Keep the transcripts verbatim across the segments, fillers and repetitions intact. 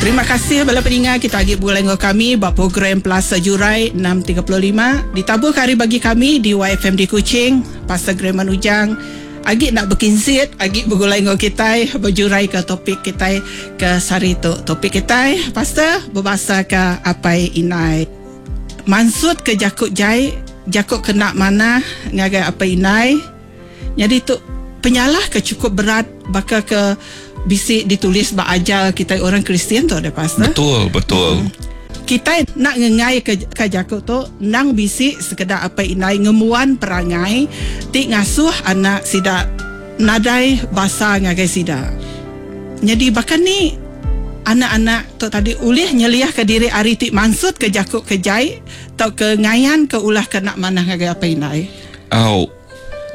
Terima kasih bala peninga kita agi begulai enggau kami ba program Plaza Jurai enam tiga puluh lima ditaburka hari bagi kami di Y F M di Kuching. Pastor Graham Ujang agi nak berkinsit, agi begulai enggau kitai berjurai ke topik kitai ke sehari tu. Topik kitai Pastor berbahasa ke apai inai. Maksud ke jakuk jai, jakuk kena mana ngagai apai inai. Jadi tu penyalah ke cukup berat baka ke bisi ditulis ba ajar kita orang Kristian tu ada pastor. Betul, betul. Hmm. Kita nak ngengai ke, ke jakuk tu nang bisi sekedar apai inai ngemuan perangai ti ngasuh anak sida nadai basa ngagai sida. Jadi bahkan ni anak-anak tu tadi ulih nyeliah ke diri ari ti maksud ke jakuk ke jai atau ke ngayan ke ulah ke nak manah ngagai apai inai. Au.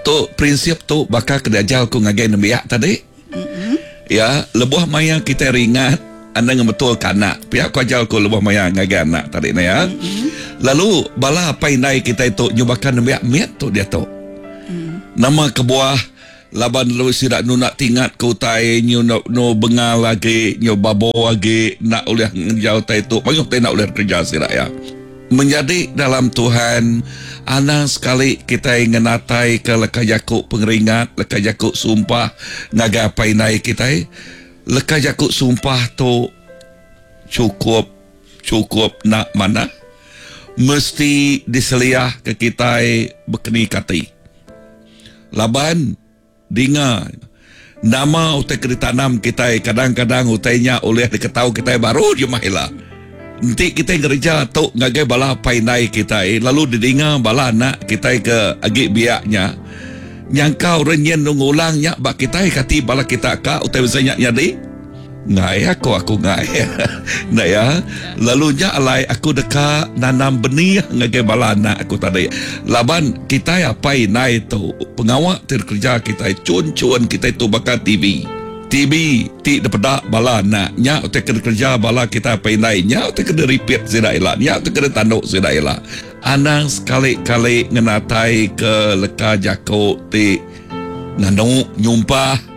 Tu prinsip tu bakal ke diajar ku ngagai nembiak tadi. Mm-hmm. Ya, lebuh maya kita ringat anda ngebetul ke anak. Pihak ku ajar ku lebuh maya ngagai anak tadi ni ya. Mm-hmm. Lalu bala apai indai kita itu nyubakan nembiak miat tu dia tu. Mm. Nama kebuah laban lu sidak nu nak tingat ke utai nyu no, no bengal lagi, nyu babo lagi, nak oleh ngejar utai tu, mayuh utai nak oleh kerja sidak ya. Menjadi dalam Tuhan, anang sekali kita ngenatai ke leka jakuk pengeringat, leka jakuk sumpah ngagai apai indai kita. Leka jakuk sumpah tu cukup, cukup nak mana mesti diseliah ke kita berkeni kati. Laban dinga nama utai ke ditanam kita kadang-kadang utainya oleh diketau kita baru je mahila. Nanti kita ngerja tu ngagai bala apai indai kita eh, lalu didinga bala anak kita ke agi biaknya nyangka orang nyen ngulangnya bak kita kati bala kita ka utai besarnya jadi ngai aku aku ngai. Nah ya, lalu nya alai aku deka nanam benih ngagai bala anak aku tadi. Laban kita apai indai tu pengawak terkerja kita cun-cun kita tu bakal T V. T V ti depedak bala anak nya utai kena kerja bala kita apai indai nya utai kena repeat sida ila nya utai kena tanduk sida ila. Anang sekali-kali ngenatai ke leka jako ti nganu nyumpah.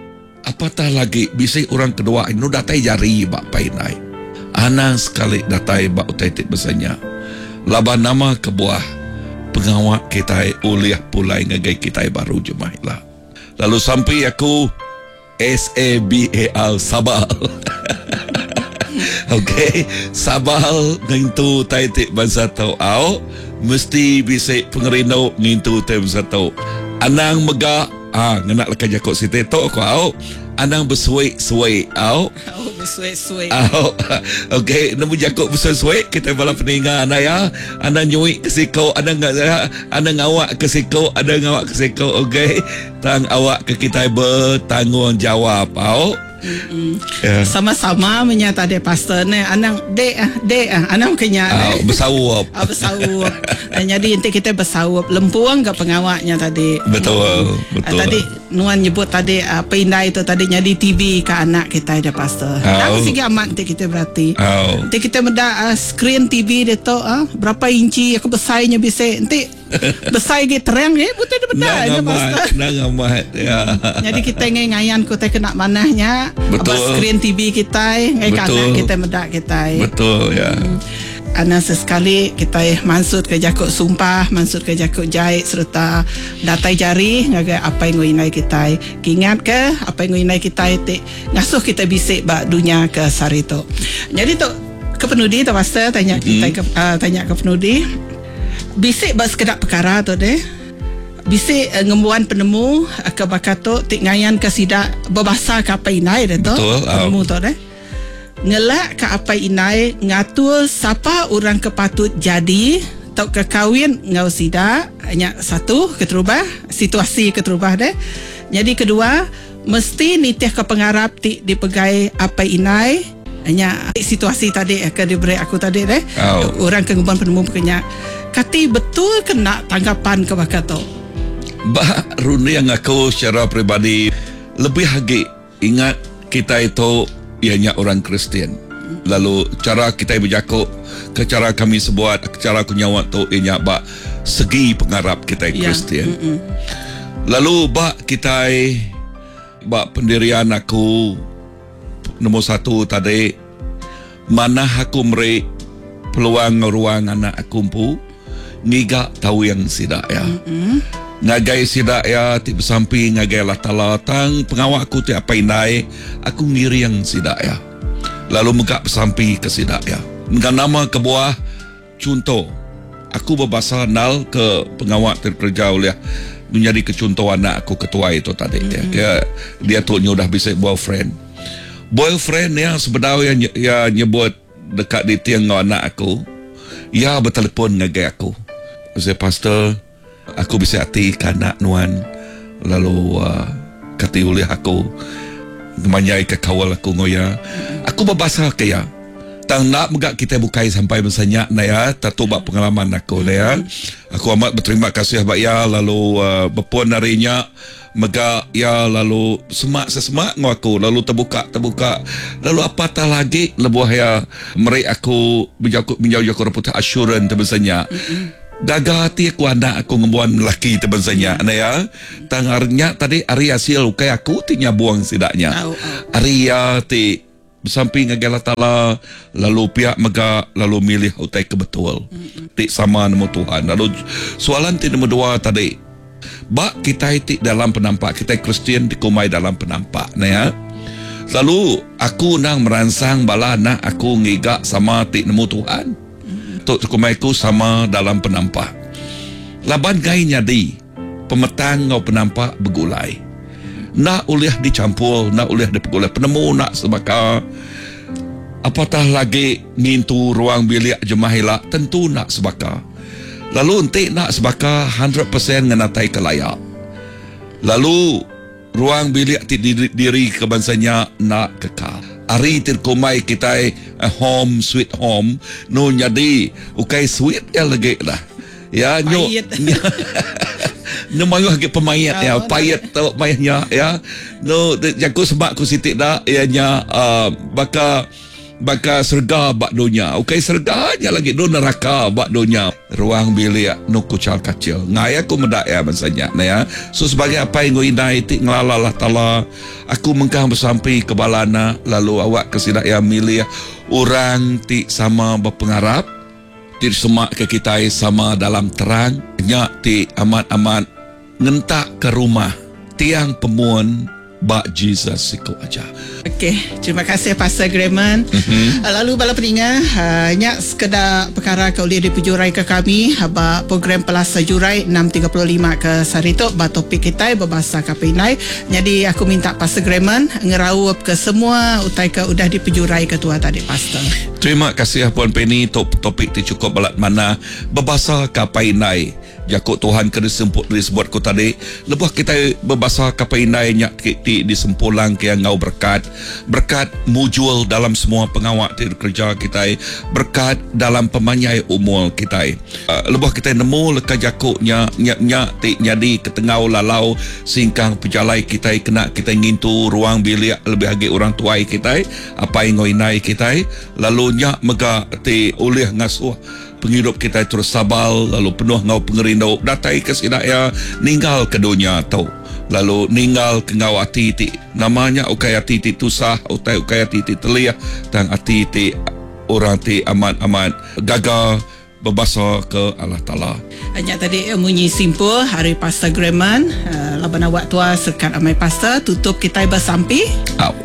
Apatah lagi bisi orang kedua nu datai jari ba apai indai. Anang sekali datai ba utai ti besarnya. Laban nama kebuah pengawak kita ulih pulai ngagai kita baru jemah ila. Lalu sampai aku S A B A L sabal. Okey, sabal ngintu tai ti bangsa tau au mesti bisi pengerindu ngintu tai bangsa tau. Anang mega ah ngena leka jakuk siti tu aku au. Anang bersuai-suai au. Au bersuai-suai. Au. Okey, nemu jakuk bersuai-suai kita bala peninga anda ya. Anda nyui ke siko, anda anda ngawak ke siko, anda ngawak ke siko, okey. Tang awak ke kita bertanggungjawab au. Yeah. Sama-sama menyata de pastor ne anang de de anang kenya oh, bersawup. Oh, bersawup. Jadi nanti kita bersawup lempuang ke pengawaknya tadi. Betul, betul. Tadi nuan nyebut tadi uh, pindai itu tadi jadi T V ke anak kita ada pastor. Oh. Dan segi amat nanti kita berarti. Oh. Nanti kita meda uh, screen T V dia tu uh, berapa inci aku besarnya bisa nanti besar ge terang ge betul dia benar dia pastor. Nak amat ya. Jadi kita ngai ngayan ku teh kena manahnya. Betul. Apa screen T V kita ngai kanak kita medak kita. Betul ya. Hmm. Ana sesekali kita maksud ke jakuk sumpah, maksud ke jakuk jahit serta datai jari ngagai apa yang nguinai kita. Ingat ke apa yang nguinai kita ti ngasuh kita bisik ba dunia ke sari tu. Jadi tu ke penudi tu pastor tanya kita mm. ke uh, tanya ke penudi. Bisik ba sekedak perkara tu deh. Bisik uh, ngembuan penemu uh, ke bakat tu ti ngayan ke sidak berbahasa ke apa inai deh tu. Betul. Penemu tu deh. Ngelak ke apa inai ngatur siapa orang ke patut jadi atau ke kahwin ngau sidak nya satu keterubah situasi keterubah deh. Jadi kedua mesti nitih ke pengarap ti dipegai apa inai nya situasi tadi ke diberi aku tadi deh. Oh. Orang ke ngembuan penemu kenya kati betul kena tanggapan ke bakat tu. Bah runding aku secara peribadi lebih lagi ingat kita itu ianya orang Kristian. Lalu cara kita berjakuk ke cara kami sebuat, ke cara aku nyawa tu ianya bak segi pengarap kita ya. Kristian. Mm-mm. Lalu bak kita bak pendirian aku nombor satu tadi Manah aku meri peluang ruang anak aku empu ngiga tawing sida ya. Mm-hmm. Ngagai sida ya ti besampi ngagai Allah Taala tang pengawa aku ti apa indai aku ngiring sida ya. Lalu mega besampi ke sida ya. Dengan nama kebuah contoh aku berbahasa nal ke pengawa terkerja oleh menjadi kecontoh anak aku ketua itu tadi mm-hmm. ya. Dia, dia tu nya udah bisa boyfriend. Boyfriend ya sebenarnya ya, ya nyebut dekat di tiang anak aku. Ya bertelefon ngagai aku. Saya pastor, aku bisa hati ke anak nuan lalu uh, kata oleh aku manyai ke kawal aku ngoya. Aku berbahasa ke ya. Tang nak megak kita bukai sampai misalnya na ya, tatu bak pengalaman aku na ya. Aku amat berterima kasih bak ya lalu uh, berpuan harinya megak ya lalu semak sesemak ngau aku lalu terbuka terbuka lalu apatah lagi lebuh ya meri aku bijau bijau jaku putih assurance terbesarnya. Gaga hati aku anak aku ngembuan lelaki terbesarnya na ya. Tang harinya tadi hari hasil ukai aku ti nyabuang sidaknya. Hari ya ti bersamping ngagai Allah Taala lalu pihak mega lalu milih utai kebetul. Ti sama nemu Tuhan. Lalu soalan ti nombor dua tadi bak kita ti dalam penampak kita Kristian dikumai dalam penampak nah ya. Lalu aku nang merangsang bala anak aku ngiga sama ti nemu Tuhan. Tok kumai aku sama dalam penampak. Laban gai nyadi pemetang ngau penampak begulai. Nak ulih dicampur, nak ulih dipegulai penemu nak sebaka. Apatah lagi ngintu ruang bilik jemah ila tentu nak sebaka. Lalu entik nak sebaka seratus peratus ngenatai ke layak. Lalu ruang bilik ti diri, diri kebangsanya nak kekal. Ari terkumai kita a home sweet home no nyadi ukai sweet ya lagi lah. Ya nyo nyo mayu lagi pemayat ya payet tu mayatnya ya. No jaku sebab ku sitik dah ya nya uh, baka baka serga bak dunia. Ukai serga nya lagi do neraka bak dunia. Ruang bilik no kucal kacil. Ngai aku medak ya bangsanya nah ya. So sebagai apa yang ngui ti ngelala Allah Taala, aku mengkang bersampi ke balana lalu awak ke sidak ya milih orang ti sama berpengarap ti semak ke kita sama dalam terang nya ti amat-amat ngentak ke rumah tiang pemuan bak Jesus siku aja. Okey, terima kasih Pastor Grayman. Mm-hmm. Lalu bala peninga, uh, nyak sekedar perkara ke boleh dipejurai ke kami bak program Pelasa Jurai enam tiga puluh lima ke sehari tu bak topik kita berbahasa Kapinai. Jadi aku minta Pastor Grayman ngeraup ke semua utai ke udah dipejurai ke tua tadi Pastor. Terima kasih Puan Penny, top topik ti cukup balat mana berbahasa Kapinai. Jakut Tuhan ke disebut disebut ku tadi lebuh kita berbahasa Kapinai nyak ti disempulang ke yang ngau berkat berkat mujul dalam semua pengawak ti kerja kita berkat dalam pemanyai umur kita. Uh, lebuh kita nemu leka jakuknya nyak nyak ti nyadi ketengau lalau singkang pejalai kita kena kita ngintu ruang bilik lebih agi orang tuai kita apa yang ngoi kita lalu nyak mega ti ulih ngasuh penghidup kita terus sabal lalu penuh ngau pengerindu datai ke sidak ya ninggal ke dunia tu lalu ninggal ke ngau ati ti namanya ukai ati ti tusah utai ukai ati ti teliah tang ati ti orang ti amat-amat gagal berbahasa ke Allah Taala. Hanya tadi munyi simpul hari Pastor Grayman uh, laban awak tua sekat amai pastor tutup kita bersampi. Au.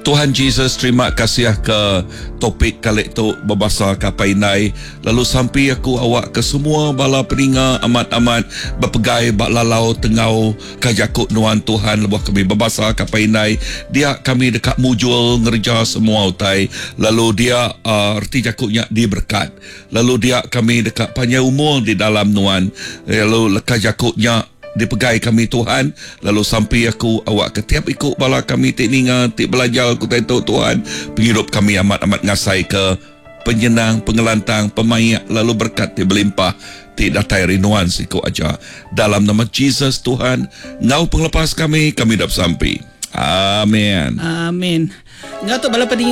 Tuhan Jesus, terima kasih ke topik kali tu berbahasa Kapainai. Lalu sampai aku awak ke semua bala peninga amat-amat berpegai bak lalau tengau kajakut nuan Tuhan lebuh kami berbahasa Kapainai. Dia kami dekat mujul ngerja semua utai. Lalu dia uh, erti jakutnya diberkat. Lalu dia kami dekat panjang umur di dalam nuan. Lalu leka jakutnya dipegai kami Tuhan. Lalu sampai aku awak ke tiap ikut bala kami tik ninga tik belajar aku tentu Tuhan penghidup kami amat-amat ngasai ke penyenang pengelantang pemayak lalu berkat ti berlimpah ti datai rinuan siku aja dalam nama Jesus Tuhan ngau penglepas kami kami dap sampai. Amin. Amin. Ngau tu bala peninga